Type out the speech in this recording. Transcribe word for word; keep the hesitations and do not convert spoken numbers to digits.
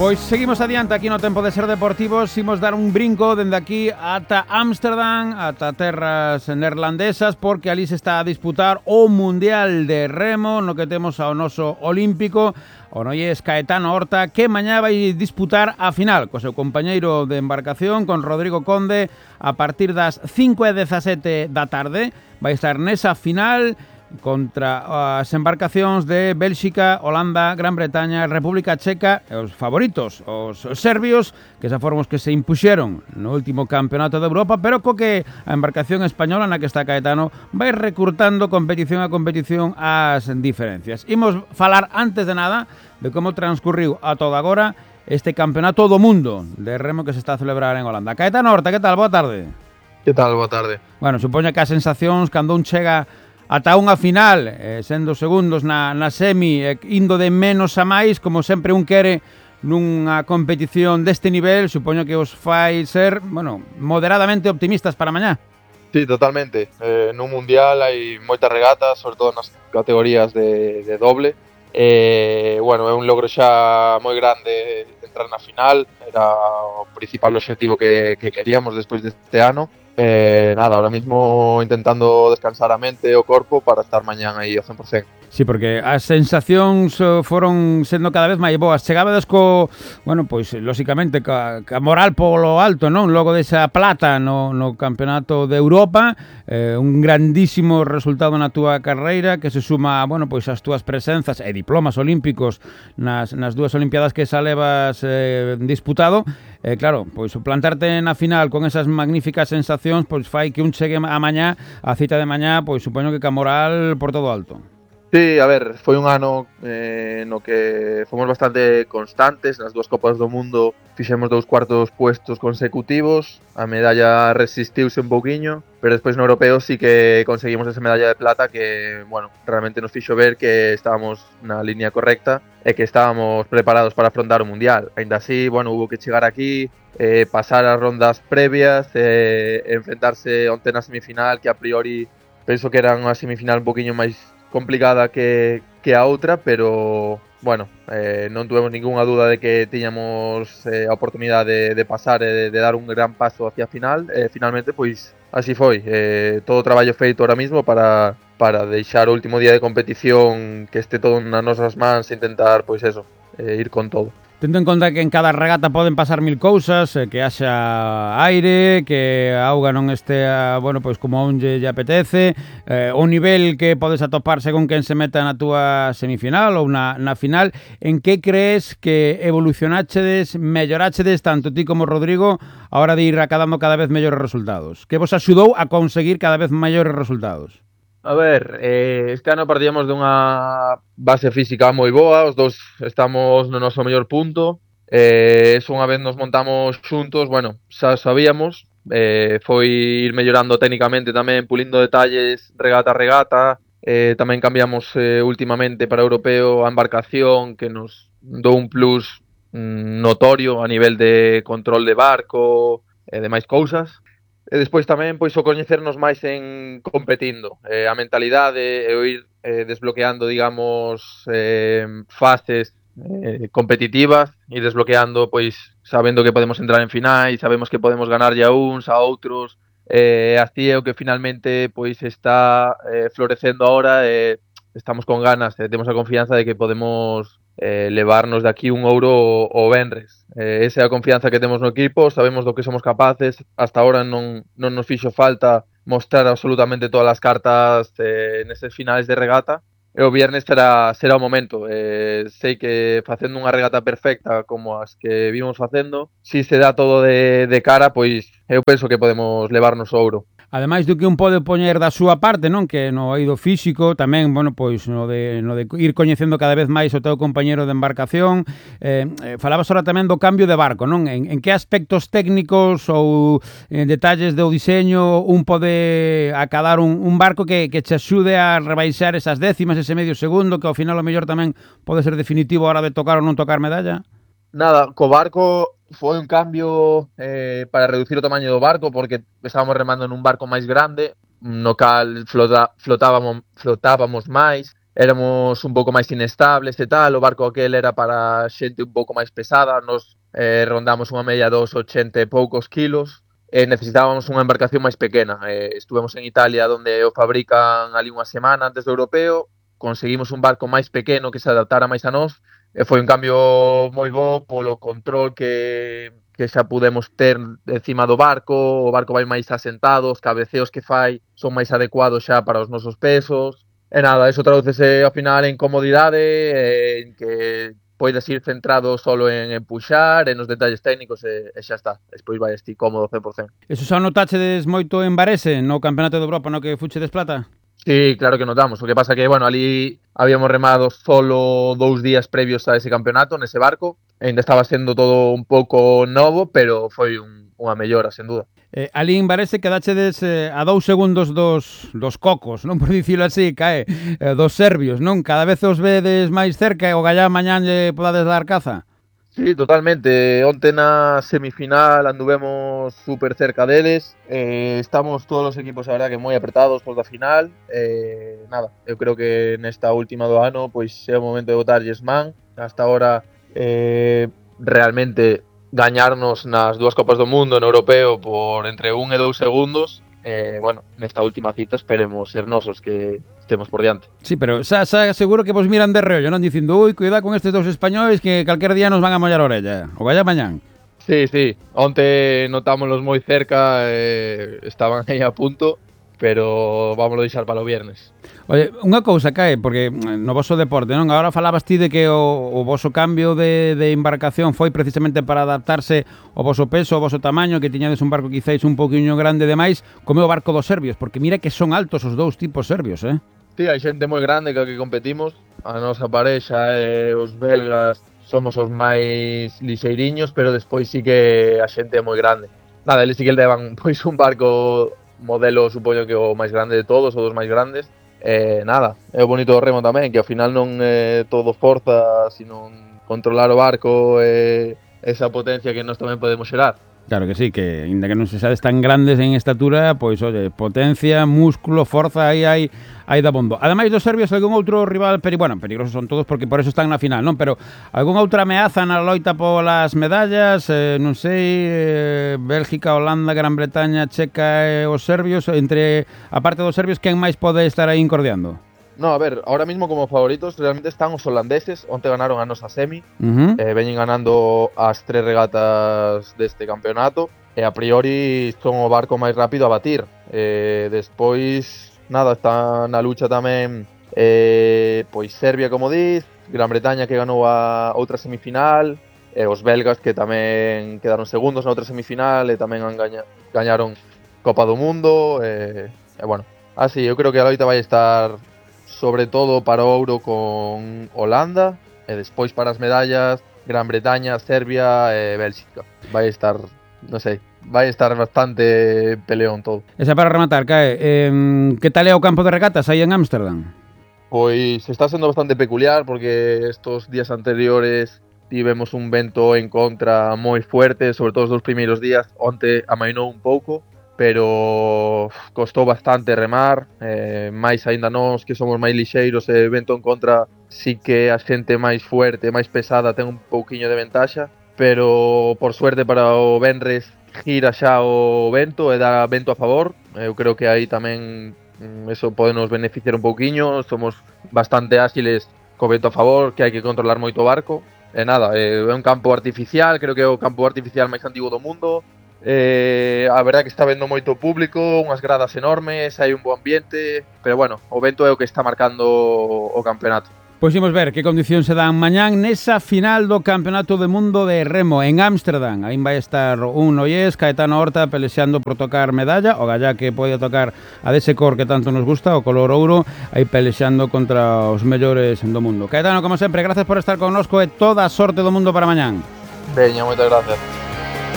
Pois seguimos adiante aquí no Tempo de Ser Deportivos. Imos dar un brinco dende aquí ata Ámsterdam, ata terras neerlandesas, porque ali se está a disputar o Mundial de Remo, no que temos ao noso olímpico, o noies Caetano Horta, que mañá vai disputar a final co seu compañeiro de embarcación, con Rodrigo Conde, a partir das cinco e dezasete da tarde. Vai estar nesa final contra as embarcacións de Bélxica, Holanda, Gran Bretaña, República Checa e os favoritos, os serbios, que xa foron os que se impuxeron no último campeonato de Europa, pero co que a embarcación española na que está Caetano vai recurtando competición a competición as diferencias. Imos falar antes de nada de como transcurriu a todo agora este campeonato do mundo de remo que se está a celebrar en Holanda. Caetano Horta, que tal? Boa tarde. Que tal? Boa tarde. Bueno, supoño que as sensacións cando un chega ata unha final, eh, sendo segundos na, na semi, eh, indo de menos a máis, como sempre un quere nunha competición deste nivel, supoño que os fai ser, bueno, moderadamente optimistas para mañá. Sí, totalmente. Eh, nun mundial hai moitas regatas, sobre todo nas categorías de, de doble. Eh, bueno, é un logro xa moi grande entrar na final, era o principal objetivo que, que queríamos despois deste ano. Eh, nada, ahora mismo intentando descansar a mente e o corpo para estar mañán aí ao cen por cen. Sí, porque as sensacións foron sendo cada vez máis boas. Chegabades co, bueno, pois, lóxicamente, ca, ca moral polo alto, non? Logo desa plata no, no Campeonato de Europa, eh, un grandísimo resultado na túa carreira, que se suma, bueno, pois, as túas presenzas e diplomas olímpicos nas, nas dúas Olimpiadas que xa levas eh, disputado. Eh, claro, pois, plantarte na final con esas magníficas sensacións, pois, fai que un chegue a mañá, a cita de mañá, pois, supoño que ca moral por todo alto. Sí, a ver, foi un ano eh, no que fomos bastante constantes. Nas dúas Copas do Mundo fixemos dous cuartos puestos consecutivos. A medalla resistiuse un pouquiño, pero despois no Europeo sí que conseguimos esa medalla de plata que, bueno, realmente nos fixo ver que estábamos na línea correcta e que estábamos preparados para afrontar o Mundial. Ainda así, bueno, hubo que chegar aquí, eh, pasar as rondas previas, eh, enfrentarse onte na semifinal, que a priori penso que era unha semifinal un poquinho máis complicada que, que a outra, pero bueno, eh, non tuvemos ningunha duda de que tiñamos eh, a oportunidade de, de pasar e de, de dar un gran paso hacia a final. E eh, finalmente, pois, así foi. Eh, todo o traballo feito ahora mismo para, para deixar o último día de competición que este todo nas nosas mans e intentar, pois eso, eh, ir con todo. Tendo en conta que en cada regata poden pasar mil cousas, que haxa aire, que a auga non estea, bueno, pois como a un lle, lle apetece, eh, o nivel que podes atopar según quen se meta na túa semifinal ou na, na final, en que crees que evolucionáchedes, melloráchedes, tanto ti como Rodrigo, a hora de ir acadando cada vez mellores resultados? Que vos axudou a conseguir cada vez maiores resultados? A ver, eh, este ano partíamos dunha base física moi boa, os dous estamos no noso mellor punto. Eh, eso unha vez nos montamos xuntos, bueno, xa sabíamos, eh, foi ir mellorando técnicamente tamén, pulindo detalles regata a regata. Eh, tamén cambiamos eh, últimamente para Europeo a embarcación, que nos dou un plus mm, notorio a nivel de control de barco e demais cousas. E despois tamén pois o coñecernos máis en competindo, eh, a mentalidade e o ir eh, desbloqueando, digamos, eh, fases eh, competitivas e desbloqueando, pois sabendo que podemos entrar en finais, sabemos que podemos ganarlle a uns, a outros, eh, así é o que finalmente pois está eh, florecendo ahora e eh, estamos con ganas, eh, temos a confianza de que podemos eh, levarnos de aquí un ouro o, o venres. Eh, esa é a confianza que temos no equipo, sabemos do que somos capaces, hasta ahora non, non nos fixo falta mostrar absolutamente todas as cartas eh, neses finais de regata, e o viernes será, será o momento. Eh, sei que facendo unha regata perfecta como as que vimos facendo, si se dá todo de, de cara, pois eu penso que podemos levarnos o ouro. Ademais do que un pode poñer da súa parte, non? Que no eido físico, tamén, bueno, pois no de, no de ir coñecendo cada vez máis o teu compañeiro de embarcación. Eh, eh, falabas ahora tamén do cambio de barco, non? En, en que aspectos técnicos ou en detalles do diseño un pode acadar un, un barco que, que che axude a rebaixar esas décimas, ese medio segundo, que ao final o mellor tamén pode ser definitivo a hora de tocar ou non tocar medalla? Nada, co barco foi un cambio eh, para reducir o tamaño do barco, porque estábamos remando nun barco máis grande, no cal flota, flotábamos, flotábamos máis, éramos un pouco máis inestables e tal, o barco aquel era para xente un pouco máis pesada, nos eh, rondamos unha media dos ochenta e poucos kilos, e necesitábamos unha embarcación máis pequena. Eh, estuvemos en Italia, onde o fabrican ali unha semana antes do europeo, conseguimos un barco máis pequeno que se adaptara máis a nós, e foi un cambio moi bo polo control que, que xa pudemos ter encima do barco, o barco vai máis asentado, os cabeceos que fai son máis adecuados xa para os nosos pesos. E nada, eso tradúcese ao final en comodidade, en que podes ir centrado solo en empuxar, en os detalles técnicos e, e xa está. Despois vai ti cómodo cen por cento. Eso xa notachedes moito en Varese, no Campeonato de Europa no que fuchedes plata? Sí, claro que notamos. O que pasa que, bueno, ali habíamos remado solo dous días previos a ese campeonato, nese barco. E ainda estaba sendo todo un pouco novo, pero foi un, unha mellora, sen duda. Eh, ali en Varese quedachedes eh, a dous segundos dos, dos cocos, non por dicilo así, cae, eh, dos serbios, non? Cada vez os vedes máis cerca e o gallá mañán lle podades dar caza? Sí, totalmente. Onte na semifinal anduvemos super cerca deles. Eh, estamos todos os equipos, a verdad, que moi apretados por da final. Eh, nada, eu creo que nesta última do ano pois é o momento de botarlles man. Hasta ahora eh, realmente gañarnos nas dúas Copas do Mundo no europeo por entre un e dous segundos. Eh, bueno, nesta última cita esperemos ser nosos que estemos por diante. Sí, pero xa, xa seguro que vos miran de reollo, non? Dicindo, ui, cuidado con estes dous españoles que calquer día nos van a mollar a orella. O gallá mañán. Sí, sí. Onte notámoslos moi cerca, eh, estaban aí a punto, pero vámoslo deixar para o viernes. Oye, unha cousa, Cae, porque no voso deporte, non? Agora falabas ti de que o, o voso cambio de, de embarcación foi precisamente para adaptarse ao voso peso, ao voso tamaño, que tiñades un barco quizáis un poquinho grande demais, como o barco dos serbios, porque mira que son altos os dous tipos serbios, eh? Sí, hai xente moi grande que que competimos. A nosa parexa e os belgas somos os máis lixeiriños, pero despois sí que a xente é moi grande. Nada, eles sí que levan pois un barco modelo, supoño que o máis grande de todos, ou dos máis grandes. Eh, nada, é o bonito do remo tamén, que ao final non é todo forza, sino controlar o barco e esa potencia que nós tamén podemos xerar. Claro que sí, que ainda que non se sabes tan grandes en estatura, pois, oye, potencia, músculo, forza, aí hai aí da bondo. Ademais dos serbios, algún outro rival, peri, bueno, peligrosos son todos porque por eso están na final, non? Pero algunha outra ameaza na loita polas medallas, eh, non sei, eh, Bélgica, Holanda, Gran Bretaña, Checa e os serbios, entre a parte dos serbios, quen máis pode estar aí incordiando? No, a ver, ahora mismo como favoritos realmente están os holandeses. Onte ganaron a nosa semi, Uh-huh. eh, veñen ganando as tres regatas deste campeonato e a priori son o barco máis rápido a batir. Eh, despois, nada, está na lucha tamén eh, pois Serbia, como diz, Gran Bretaña que ganou a outra semifinal, e os belgas que tamén quedaron segundos na outra semifinal e tamén han gaña, gañaron Copa do Mundo. E, e bueno, así, eu creo que a loita vai estar sobre todo para o ouro con Holanda e despois para as medallas Gran Bretaña, Serbia e Bélxica. Vai estar, non sei, vai estar bastante peleón todo. Esa para rematar, Cae, eh, que tal é o campo de regatas aí en Ámsterdam? Pois está sendo bastante peculiar porque estos días anteriores tivemos un vento en contra moi fuerte, sobre todo os dous primeiros días. Onte amainou un pouco, pero costou bastante remar, eh, máis aínda nós que somos máis lixeiros e vento en contra, sí que a xente máis fuerte, máis pesada ten un pouquiño de ventaxa, pero por suerte para o venres gira xa o vento e dá vento a favor. Eu creo que aí tamén eso pode nos beneficiar un pouquiño, somos bastante áxiles co vento a favor, que hai que controlar moito o barco. E nada, é un campo artificial, creo que é o campo artificial máis antigo do mundo. Eh, a verdade que está vendo moito público, unhas gradas enormes, hai un bo ambiente, pero bueno, o vento é o que está marcando o campeonato. Pois imos ver que condicións se dan mañán nesa final do Campeonato do Mundo de Remo en Ámsterdam. Aí vai estar un Noyés, Caetano Horta, pelexando por tocar medalla, o gallá que pode tocar a dese cor que tanto nos gusta, o color ouro, aí pelexando contra os mellores do mundo. Caetano, como sempre, gracias por estar connosco e toda a sorte do mundo para mañán. Veña, moitas gracias.